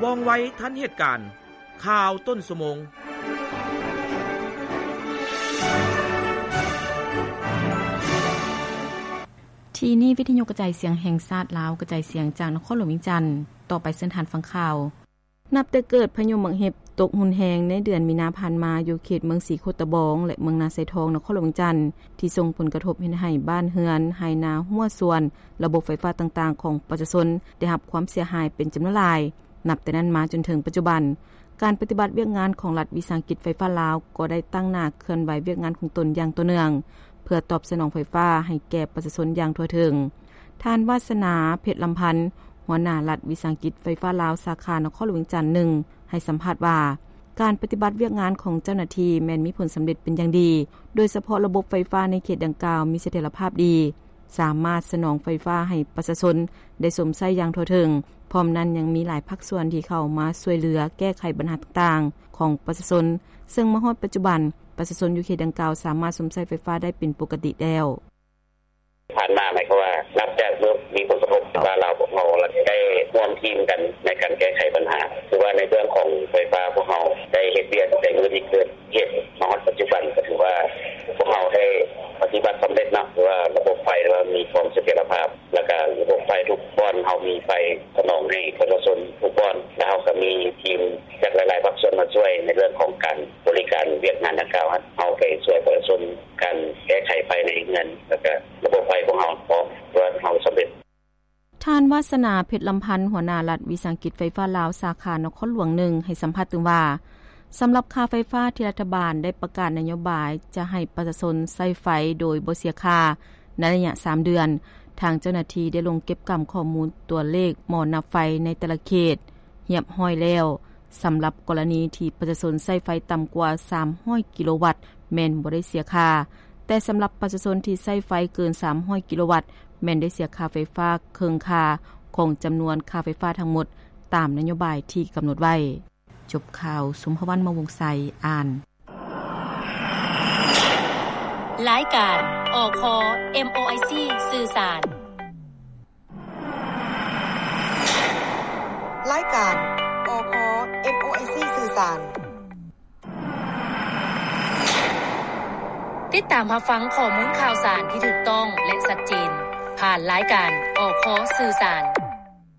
ວ່ອງໄວທັນເຫດການ. ຂ່າວຕົ້ນຊົ່ວໂມງ. ທີ່ນີ້ວິທະຍຸກະຈາຍສຽງແຫ່ງຊາດລາວ ກະຈາຍສຽງຈາກນະຄອນຫຼວງວຽງຈັນ. ຕໍ່ໄປເຊີນທ່ານຟັງຂ່າວ. ນັບແຕ່ເກີດພາຍຸໝາກເຫັບຕົກຮຸນແຮງໃນເດືອນມີນາຜ່ານມາ ຢູ່ເຂດເມືອງສີໂຄດຕະບອງ ແລະ ເມືອງນາຊາຍທອງ ນະຄອນຫຼວງວຽງຈັນ ທີ່ສົ່ງຜົນກະທົບເຮັດໃຫ້ບ້ານເຮືອນ, ໄຮ່ນາ, ຮົ້ວສວນ, ລະບົບໄຟຟ້າຕ່າງໆຂອງປະຊາຊົນໄດ້ຮັບຄວາມເສຍຫາຍເປັນຈຳນວນຫຼາຍ. ນັບແຕ່ນັ້ນມາຈົນເຖິງປັດຈຸບັນ, ການປະຕິບັດວຽກງານຂອງລັດວິສາຫະກິດໄຟຟ້າລາວ ກໍໄດ້ຕັ້ງໜ້າເຄື່ອນໄຫວວຽກງານຂອງຕົນຢ່າງຕໍ່ເນື່ອງ ເພື່ອຕອບສະໜອງໄຟຟ້າໃຫ້ແກ່ປະຊາຊົນຢ່າງທົ່ວເຖິງ. ທ່ານ ວາສະໜາ ເພັດລຳພັນ ຫົວໜ້າລັດວິສາຫະກິດໄຟຟ້າລາວ ສາຂານະຄອນຫຼວງວຽງຈັນໜຶ່ງ ໃຫ້ສຳພາດວ່າ ການປະຕິບັດວຽກງານຂອງເຈົ້າໜ້າທີ່ແມ່ນມີຜົນສຳເລັດເປັນຢ່າງດີ, ໂດຍສະເພາະລະບົບໄຟຟ້າໃນເຂດດັ່ງກ່າວມີສະຖຽນລະພາບດີ, ສາມາດສະໜອງໄຟຟ້າໃຫ້ປະຊາຊົນໄດ້ຊົມໃຊ້ຢ່າງທົ່ວເຖິງ. ພ້ອມນັ້ນຍັງມີຫຼາຍພາກສ່ວນທີ່ເຂົ້າມາຊ່ວຍເຫຼືອແກ້ໄຂບັນຫາຕ່າງໆຂອງປະຊາຊົນ, ເຊິ່ງມາຮອດປັດຈຸບັນ ປະຊາຊົນຢູ່ເຂດດັ່ງກ່າວສາມາດຊົມໃຊ້ໄຟຟ້າໄດ້ເປັນປົກກະຕິແລ້ວ. ຜ່ານມາ ໝາຍຄວາມວ່າ ນັບຈາກເມື່ອມີຜົນກະທົບ ວ່າລາວ ພວກເຮົາໄດ້ຮ່ວມທີມກັນໃນການແກ້ໄຂບັນຫາ. ຄືວ່າໃນເລື່ອງຂອງໄຟຟ້າ ພວກເຮົາໄດ້ເຮັດວຽກຕັ້ງແຕ່ມື້ທີ່ເກີດເຫດມາຮອດປັດຈຸບັນ ກໍຖືວ່າພວກເຮົາໄດ້ປະຕິບັດສຳເລັດເນາະ, ຄືວ່າລະບົບໄຟ ຫຼືວ່າມີຄວາມສະຖຽນລະພາບ ແລ້ວກະລະບົບໄຟທຸກບ່ອນ ເຮົາມີໄຟສະໜອງໃຫ້ປະຊາຊົນທຸກບ່ອນ ແລະ ເຮົາກໍມີທີມຈາກຫຼາຍໆພາກສ່ວນມາຊ່ວຍໃນເລື່ອງຂອງການບໍລິການວຽກງານດັ່ງກ່າວ. ເຮົາໄປຊ່ວຍປະຊາຊົນການແກ້ໄຂໄຟໃນເຮືອນ ແລ້ວກະລະບົບໄຟພວກເຮົາພ້ອມ ຖືວ່າເຮົາສຳເລັດ. ທ່ານ ວາສະໜາ ເພັດລຳພັນ ຫົວໜ້າລັດວິສາຫະກິດໄຟຟ້າລາວ ສາຂານະຄອນຫຼວງໜຶ່ງ ໃຫ້ສຳພາດຕື່ມວ່າ ສຳລັບຄ່າໄຟຟ້າທີ່ລັດຖະບານໄດ້ປະກາດນະໂຍບາຍຈະໃຫ້ປະຊາຊົນໃຊ້ໄຟໂດຍບໍ່ເສຍຄ່າ ໃນໄລຍະສາມເດືອນ, ທາງເຈົ້າໜ້າທີ່ໄດ້ລົງເກັບກຳຂໍ້ມູນຕົວເລກໝໍ້ນັບໄຟໃນແຕ່ລະເຂດຮຽບຮ້ອຍແລ້ວ. ສຳລັບກໍລະນີທີ່ປະຊາຊົນໃຊ້ໄຟຕ່ຳກວ່າສາມຮ້ອຍກິໂລວັດ ແມ່ນບໍ່ໄດ້ເສຍຄ່າ, ແຕ່ສຳລັບປະຊາຊົນທີ່ໃຊ້ໄຟເກີນສາມຮ້ອຍກິໂລວັດ ແມ່ນໄດ້ເສຍຄ່າໄຟຟ້າເຄິ່ງຄ່າຂອງຈຳນວນຄ່າໄຟຟ້າທັງໝົດ ຕາມນະໂຍບາຍທີ່ກຳນົດໄວ້. ຈົບຂ່າວ, ສົມພະວັນ ມະວົງໄຊ ອ່ານ. ລາຍການ ອຄ ເອັມໂອໄອຊີ ສື່ສານ. ລາຍການ ອຄ ເອັມໂອໄອຊີ ສື່ສານ. ຕິດຕາມຮັບຟັງຂໍ້ມູນຂ່າວສານທີ່ຖືກຕ້ອງ ແລະ ຊັດເຈນ ຜ່ານລາຍການ ອຄ ສື່ສານ.